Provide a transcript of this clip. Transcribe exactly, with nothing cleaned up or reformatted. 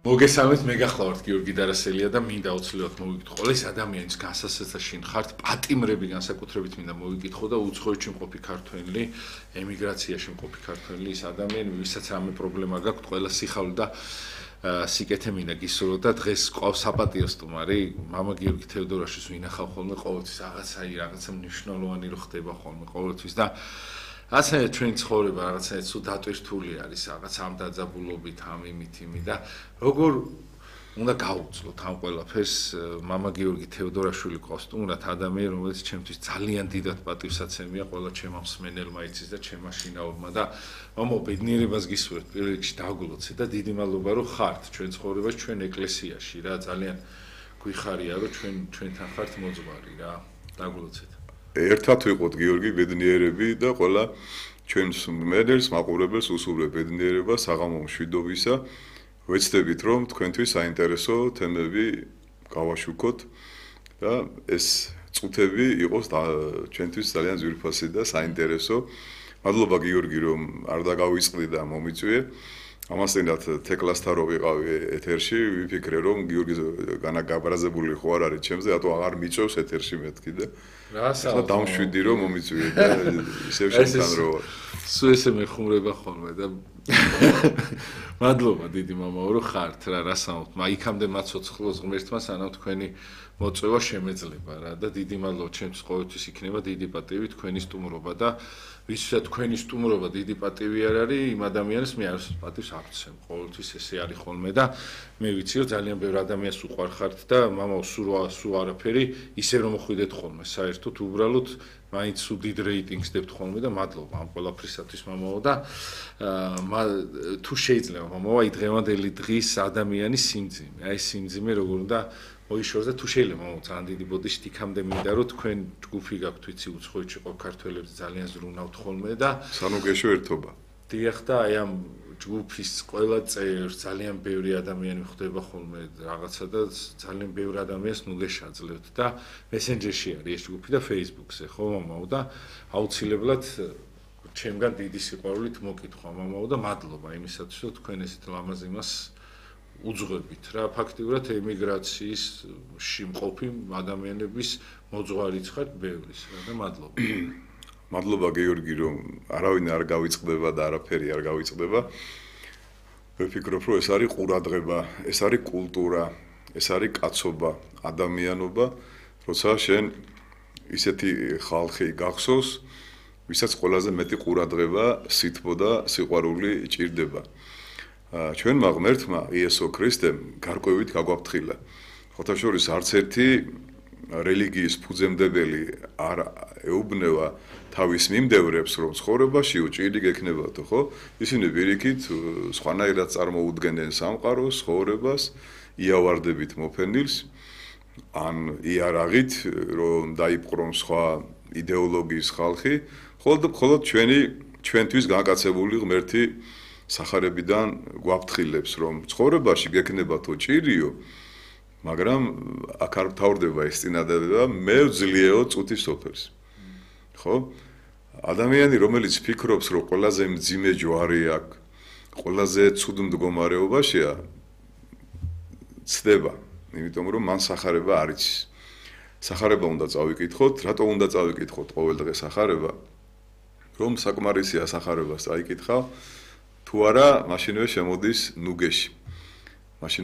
მოგესალმებით, მე გახლავართ გიორგი დარასელია და მინდა უცვლელად მოვიკითხო. ეს ადამიანის განსასწრებში ხართ, პატიმრები განსაკუთრებით მინდა მოვიკითხო და უცხოეთში მყოფი ქართველი, ემიგრაციაში მყოფი ქართველი ის ადამიანი, ვისაც რამე პრობლემა გაქვთ, ყველა სიხარული და სიკეთე მინდა გისურვო და დღეს ყავს საპატიო სტუმარი, მამა გიორგი თევდორაშვილს ვინახავ ხოლმე ყოველთვის რაღაცა რაღაცა მნიშვნელოვანი რო ხდება ხოლმე ყოველთვის და ასე ჩვენ ცხოვრება რაღაცა სულ დატვირთული არის რაღაც ამ დაძაბულობით ამ იმით იმი და როგორ უნდა გაუძლოთ ამ ყველაფერს მამა გიორგი თევდორაშვილი ყავს სტუმრად ადამიანი რომელიც ჩემთვის ძალიან დიდად პატივსაცემია ყველა ჩემ მსმენელმა იცის და ჩემმა შინაურმა და მამა ბედნიერებას გისურვებთ პირველ რიგში დაგულოცე და დიდი მადლობა რომ ხართ ჩვენ ცხოვრებაში ჩვენ ეკლესიაში რა ძალიან გვიხარია რომ ჩვენ ჩვენთან ხართ მოძღვარი რა დაგულოცეთ ერთად ვიყოთ გიორგი ბედნიერები და ყველა ჩვენს მედელს მაყურებელს უსურვებ ბედნიერებას საღამო მშვიდობისა ვეცდებით რომ თქვენთვის საინტერესო თემები გავაშუქოთ და ეს წუთები იყოს ჩვენთვის ძალიან ძვირფასი და საინტერესო მადლობა გიორგი რომ არ დაგავიწყდი და მომიწვიე ამასთანავ თეკლასთან რო ვიყავი ეთერში ვიფიქრე რომ გიორგი განაგაბრაზებული ხო არ არის ჩემზე რატო აღარ მიწევს ეთერში მეთქი და რა დამშვიდი რომ მომიწვიე და ისევ შენთან რო სულ ესე მეხუმრება ხოლმე და მადლობა დიდი მამაო რომ ხართ რა რასაუბრობთ მა იქამდე მაცოცხლოს ღმერთმა სანამ თქვენი მოწვევა შემეძლება რა და დიდი მადლობა ჩემთვის ყოველთვის იქნება დიდი პატივი თქვენი სტუმრობა და ვისაც თქვენი სტუმრობა დიდი პატივი არ არის იმ ადამიანს მე არც პატივს აღწევ ყოველთვის ესე არის ხოლმე და მე ვიცი რომ ძალიან ბევრ ადამიანს უყვარხართ და მამაო სულ სულ არაფერი ისე რომ მოხვიდეთ ხოლმე საერთოდ უბრალოდ მაინც უდიდ რეიტინგს დებთ ხოლმე და მადლობა ამ ყველაფრისათვის მამაო და თუ შეიძლება მამაო აი დღევანდელი დღის ადამიანის სიმძიმე აი სიმძიმე როგორ უნდა მოიშოროს და თუ შეიძლება მამაო ძალიან დიდი ბოდიშით იქამდე მინდა რომ თქვენ ჯგუფი გაქვთ ვიცი უცხოეთში ყო ქართველებს ძალიან ზრუნავთ ხოლმე და სანუგეშო ერთობა დიახ და აი ამ ჯგუფის ყველა წევრს ძალიან ბევრი ადამიანი ხვდება ხოლმე რაღაცა და ძალიან ბევრი ადამიანს ნუგეშაძლევთ და მესენჯერში არის ეს ჯგუფი და Facebook-ზე ხო მამაო და აუცილებლად ჩემგან დიდი სიყვარულით მოკითხვა მამაო და მადლობა იმისათვის რომ თქვენ ესეთ ლამაზ იმას უძღვებით რა ფაქტიურად ემიგრაციის მყოფი ადამიანების მოძღვარიც ხართ ბევრის რა და მადლობა მადლობა გიორგი რომ არავინ არ გავიწყდება და არაფერი არ გავიწყდება ვფიქრობ რომ ეს არის ყურადღება ეს არის კულტურა ეს არის კაცობა ადამიანობა როცა შენ ისეთი ხალხი გახსოვს ვისაც ყველაზე მეტი ყურადღება სითბო და სიყვარული ჭირდება ჩვენმა ღმერთმა იესო ქრისტემ გარკვევით გაგვაფრთხილა ხოთა შორის არც ერთი რელიგიის ფუძემდებელი არ ეუბნება თავის მიმდევრებს რომ ცხოვრებაში უჭირი გექნებათო ხო ისინი ვირიქით სხვანაირად წარმოუდგენენ სამყაროს ცხოვრებას იავარდებით მოფენილს ან იარაღით რომ დაიპყრონ სხვა იდეოლოგიის ხალხი ხოლოდ ჩვენი ჩვენთვის განკაცებული ღმერთი სახარებიდან გვაფრთხილებს რომ ცხოვრებაში გექნებათო ჭირიო მაგრამ აქ არ მთავრდება ეს წინადადება მე ვძლიეო წუთის სოფელს ხო ადამიანი რომელიც ფიქრობს რომ ყველაზე მძიმე ჯვარი აქვს ყველაზე ცუდ მდგომარეობაშია ცდება იმიტომ რომ მან სახარება არ იცის სახარება უნდა წავიკითხოთ რატო უნდა წავიკითხოთ ყოველდღე სახარება რომ საკმარისია სახარებას წაიკითხავ თუ არა მაშინვე შემოდის ნუგეში მაშინ